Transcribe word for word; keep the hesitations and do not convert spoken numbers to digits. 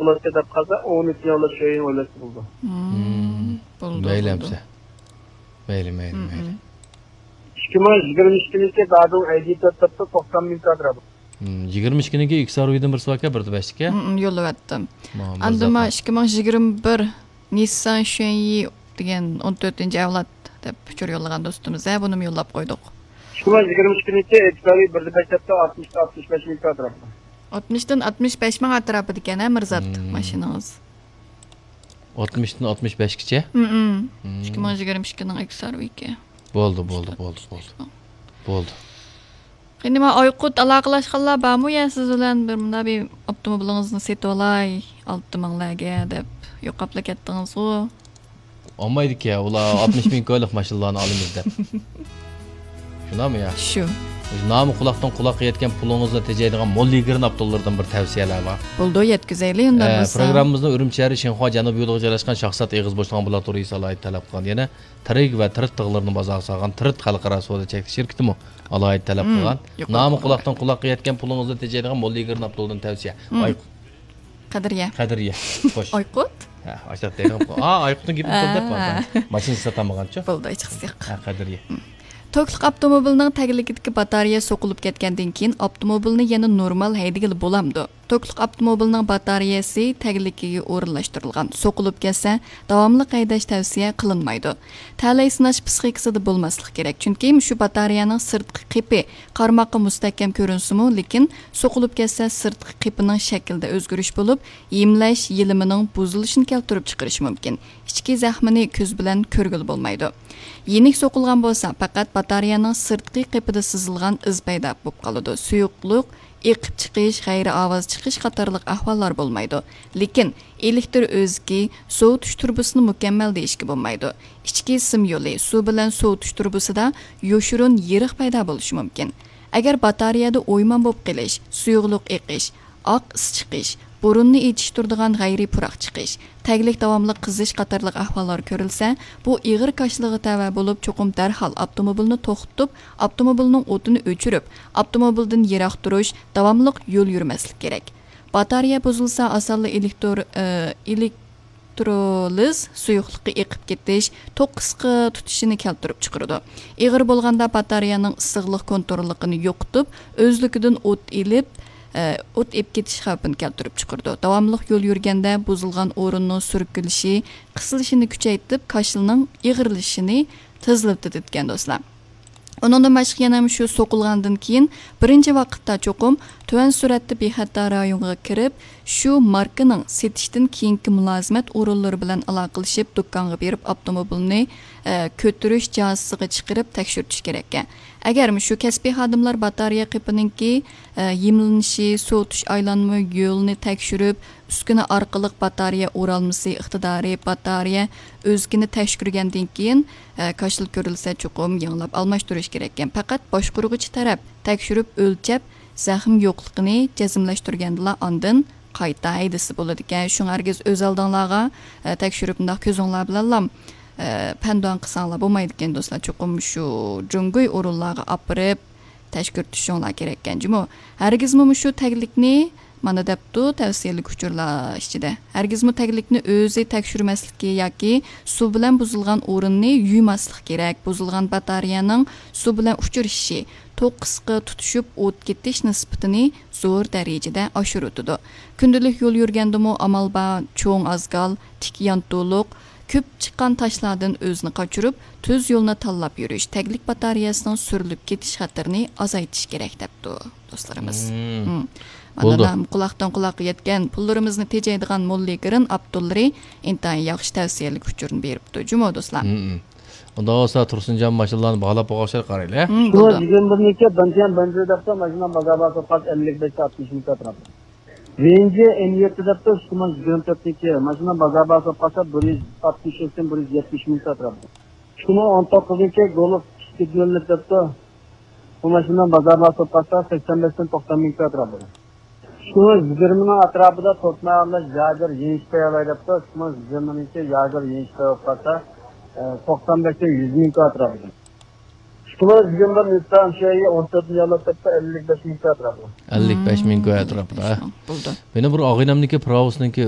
ئالىدىكەن دەپ قالسا، ئون ئۈچىنچى ئاۋلاد شۆيۈڭ ئويلاشسا بولىدۇ. مم، بولدى، مەيلى بولدى. ئەمسە. مەيلى، مەيلى، مم، مەيلى. مم. ئىككى مىڭ يىگىرمە ئىككىنچى دادۇڭ ئەيدى تۆت دەپتۇ، توقسان مىڭ كۋادرات. مم، يىگىرمە ئىككىنىڭكى ئىكس ئار ۋىدىن بىرسى باركەن، بىردە بەشتىكى. مم، مم، يوللىۋەتتىم. ماڭا بىر ئاندىن زاپا. ما ئىككى مىڭ يىگىرمە بىر نىسسان شۈەنيى دېگەن ئون تۆتىنچى ئەۋلاد دەپ ئۇچۇر يوللىغان دوستىمىز، ھە، بۇنىمۇ يوللاپ قويدۇق. ئىككى مىڭ يىگىرمە ئىككىنچى ئىكس ئار ۋى بىردە بەش دەپتۇ، ئاتمىش، ئاتمىش بەش مىڭ كۋادرات. ئاتمىشتىن ئاتمىش بەش مىڭ ئەتراپىدىكەن، ھە، مىرزات، مم. ماشىنىڭىز؟ ئاتمىشتىن ئاتمىش بەشكىچە؟ مم، مم. مم. ئىككى مىڭ يىگىرمە ئىككىنىڭ ئىكس ئار ۋى كەن. بولدى، بولدى، بولدى، بولدى. بولدى. قېنى، ما ئايقۇت، ئالاقىلەشكەنلەر بارمۇ يا سىز بىلەن؟ بىر مۇنداق بىر ئاپتوموبىلىڭىزنى سېتىۋالاي، ئالتە مىڭلارگە دەپ يوقاپلا كەتتىڭىزغۇ. ئالمايدىكەن، ئۇلار ئاتمىش مىڭ كويلۇق ماشىنىلارنى ئالىمىز دەپ. شۇنداقمۇ يا؟ شۇ. نامى قۇلاقتىن قۇلاققا يەتكەن پۇلىڭىزنى تېجەيدىغان مول يىگىرنى ئاپتوللاردىن بىر تەۋسىيەلەر بار. بولدى، يەتكۈزەيلى ئۇنداق ئە، بولسا. پروگراممىمىزنىڭ ئۈرۈمچى شەھىرى شىنخۇا جەنۇبىي يولىغا جايلاشقان شاخسات ئېغىز بوشلۇقىنىڭ بىر تۇرى ئالاھىدە تەلەپ قىلغان. يەنە تىرىگ ۋە تىرىت تىغلىرىنى بازارغا سالغان تىرىت خەلقئارا سودا چەكلىك شىركىتىمۇ ئالاھىدە تەلەپ مم، قىلغان. يۇقىرى نامى قىلغان. قۇلاقتىن قۇلاققا يەتكەن پۇلىڭىزنى تېجەيدىغان مول يىگىرنى ئاپتولدىن تەۋسىيە. مم. ئاي-، قەدرىيە. قەدرىيە. خوش. ئايقۇت؟ ھە، ئاشۇنداق دەيدىغان. ئا، ئايقۇتنىڭ گېپىنى قىل دەپ ھە. بار. ماشىنىسى ساتالمىغانچۇ؟ بولدى، ھېچقىسى يوق. ھە، قەدرىيە. مم. توكلۇق ئاپتوموبىلنىڭ تەگلىكىدىكى باتارېيە سوقۇلۇپ كەتكەندىن كېيىن ئاپتوموبىلنى يەنە نورمال ھەيدىگىلى بولامدۇ؟ توكلۇق ئاپتوموبىلنىڭ باتارېيەسى تەگلىكىگە ئورۇنلاشتۇرۇلغان، سوقۇلۇپ كەتسە، داۋاملىق ھەيدەش تەۋسىيە قىلىنمايدۇ. تەلەي سىناش پىسخىكىسىدا بولماسلىق كېرەك، چۈنكى مۇشۇ باتارېيەنىڭ سىرتقى قېپى قارىماققا مۇستەھكەم كۆرۈنسىمۇ، لېكىن سوقۇلۇپ كەتسە، سىرتقى قېپىنىڭ شەكلىدە ئۆزگىرىش بولۇپ، ھىملەش يېلىمىنىڭ بۇزۇلۇشىنى كەلتۈرۈپ چىقىرىشى مۇمكىن. ئىچكى زەخمىنى كۆز بىلەن كۆرگىلى بولمايدۇ. يېنىك سوقۇلغان بولسا، پەقەت باتارېيەنىڭ سىرتقى قېپىدا سىزىلغان ئىز پەيدا بولۇپ قالىدۇ. سۇيۇقلۇق ئېقىپ چىقىش، غەيرىي ئاۋاز چىقىش قاتارلىق ئەھۋاللار بولمايدۇ. لېكىن ئېلېكتر ئۆزىكى، سوۋۇتۇش تۇرۇبىسىنى مۇكەممەل دېيىشكە بولمايدۇ. ئىچكى سىم يولى، سۇ بىلەن سوۋۇتۇش تۇرۇبىسىدا يوشۇرۇن يېرىق پەيدا بولۇشى مۇمكىن. ئەگەر باتارېيەدە ئويمان بولۇپ قېلىش، سۇيۇقلۇق ئېقىش، ئاق ئىس چىقىش، بۇرۇننى ئېچىشتۇرىدىغان غەيرىي پۇراق چىقىش، تەگلىك داۋاملىق قىزىش قاتارلىق ئەھۋاللار كۆرۈلسە، بۇ ئېغىر كاشىلىغا تەۋە بولۇپ، چوقۇم دەرھال ئاپتوموبىلنى توختىتىپ، ئاپتوموبىلنىڭ ئوتىنى ئۆچۈرۈپ، ئاپتوموبىلدىن يىراق تۇرۇش، داۋاملىق يول يۈرمەسلىك كېرەك. باتارېيە بۇزۇلسا، ئاسانلا ئېلېكتر-، ئە، ئېلېكترولىز سۇيۇقلۇقى ئېقىپ كېتىش، توك قىسقا تۇتۇشىنى كەلتۈرۈپ چىقىرىدۇ. ئېغىر بولغاندا باتارېيەنىڭ ئىسسىقلىق كونتروللۇقىنى يوقىتىپ، ئۆزلۈكىدىن ئوت ئېلىپ، ئە، ئوت ئېلىپ كېتىش خەۋپىنى كەلتۈرۈپ چىقىرىدۇ. داۋاملىق يول يۈرگەندە بۇزۇلغان ئورۇننىڭ سۈركىلىشى، قىسىلىشىنى كۈچەيتىپ، كاشىلنىڭ ئېغىرلىشىشىنى تېزلىتىدىكەن، دوستلار. ئۇنىڭدىن باشقا يەنە شۇ سوقۇلغاندىن كېيىن بىرىنچى ۋاقىتتا چوقۇم تۆۋەن سۈرئەتتە بىخەتەر رايونغا كىرىپ، شۇ ماركىنىڭ سېتىشتىن كېيىنكى مۇلازىمەت ئورۇنلىرى بىلەن ئالاقىلىشىپ، دۇكانغا بېرىپ ئاپتوموبىلنى، ئە، كۆتۈرۈش جازىسىغا چىقىرىپ تەكشۈرتۈش كېرەككەن. ئەگەر مۇشۇ كەسپىي خادىملار باتارېيە قېپىنىڭكى، ئە، ھىملىنىشى، سوۋۇتۇش ئايلانما يولىنى تەكشۈرۈپ، ئۈسكۈنە ئارقىلىق باتارېيە ئورالمىسى ئىقتىدارى، باتارېيە ئۆزىكىنى تەكشۈرگەندىن كېيىن، ئە، كاشىلا كۆرۈلسە، چوقۇم يېڭىلاپ ئالماشتۇرۇش كېرەككەن. پەقەت باشقۇرغۇچى تەرەپ تەكشۈرۈپ ئۆلچەپ، زەخىم يوقلۇقىنى جەزملەشتۈرگەندىلا ئاندىن قايتا ھەيدىسە بولىدىكەن. شۇڭا ھەرگىز ئۆز ئالدىڭلارغا، ئە، تەكشۈرۈپ، مۇنداق كۆزۈڭلار بىلەنلا، ئە، پەندۇان قىلساڭلار بولمايدىكەن، دوستلار. چوقۇم شۇ جۇڭگوي ئورۇنلارغا ئاپىرىپ تەكشۈرتۈشۈڭلار كېرەككەن جۇمۇ. ھەرگىزمۇ مۇشۇ تەگلىكنى مانا دەپتۇ تەۋسىيەلىك ئۇچۇرلار ئىچىدە. ھەرگىزمۇ تەگلىكنى ئۆزى تەكشۈرمەسلىكى ياكى سۇ بىلەن بۇزۇلغان ئورۇننى يۇيماسلىق كېرەك. بۇزۇلغان باتارېيەنىڭ سۇ بىلەن ئۇچرىشىشى، توك قىسقا تۇتىشىپ ئوت كېتىش نىسبىتىنى زور دەرىجىدە ئاشۇرۇۋېتىدۇ. كۈندىلىك يول يۈرگەندىمۇ ئامال بار چوڭ ئازگال، تىك يانتۇلۇق، كۆپ چىققان تاشلاردىن ئۆزىنى قاچۇرۇپ، تۈز يولنى تاللاپ يۈرۈش تەگلىك باتارېيەسىنىڭ سۈرۈلۈپ كېتىش خەتىرىنى ئازايتىش كېرەك، دەپتۇ دوستلىرىمىز. مم. مم. بولدى. مانا، قۇلاقتىن قۇلاققا يەتكەن پۇللىرىمىزنى تېجەيدىغان موللىگىرىن ئاپتوللىرى ئىنتايىن ياخشى تەۋسىيەلىك ئۇچۇرنى بېرىپتۇ جۇمۇ، دوستلار. مم. ئۇنداق بولسا، تۇرسۇنجان ماشىنىلارنى باھالاپ بولغان ئوخشايدۇ، قارايلى. مم، بولدى. ئىككى مىڭ يىگىرمە بىرنىڭكى بەنجىيەن بەنزى دەپتۇ، ماشىنا بازار باھاسى ئاتمىش مىڭ كاتراپ. ۋېنجى ئېن يەتتە دەپتۇ، ئىككى مىڭ يىگىرمە تۆتنىڭكى ماشىنا بازار باھاسى بولۇپ قالسا، بىر يۈز ئاتمىش ئۈچتىن بىر يۈز يەتمىش مىڭ ئاتراپىدا. ئىككى مىڭ ئون توققۇزنىڭكى گولف ئىككى يۈز ئەللىك دەپتۇ، بۇ ماشىنا بازار باھاسى بولۇپ قالسا، سەكسەن بەشتىن توقسان مىڭ ئاتراپىدا. ئىككى مىڭ يىگىرمىنىڭ ئاتراپىدا توتماياللاش ياگېر يېنىش پەيۋاي دەپتۇ، ئىككى مىڭ يىگىرمىنىڭكى ياگېر يېنىش پەيۋاي بولۇپ قالسا، ئە، توقسان بەشتىن يۈز مىڭ ئاتراپىدا. ئىككى مىڭ يىگىرمە بىر نىسسان شۈەيى ئون تۆتىنچى ئەۋلاد دەپتۇ، ئەللىك بەش مىڭ ئاتراپىدا. ئەللىك بەش مىڭ ئاتراپىدا. بولدى. مېنىڭ بىر ئاغىنەمنىڭكى پراۋوسىنىڭكى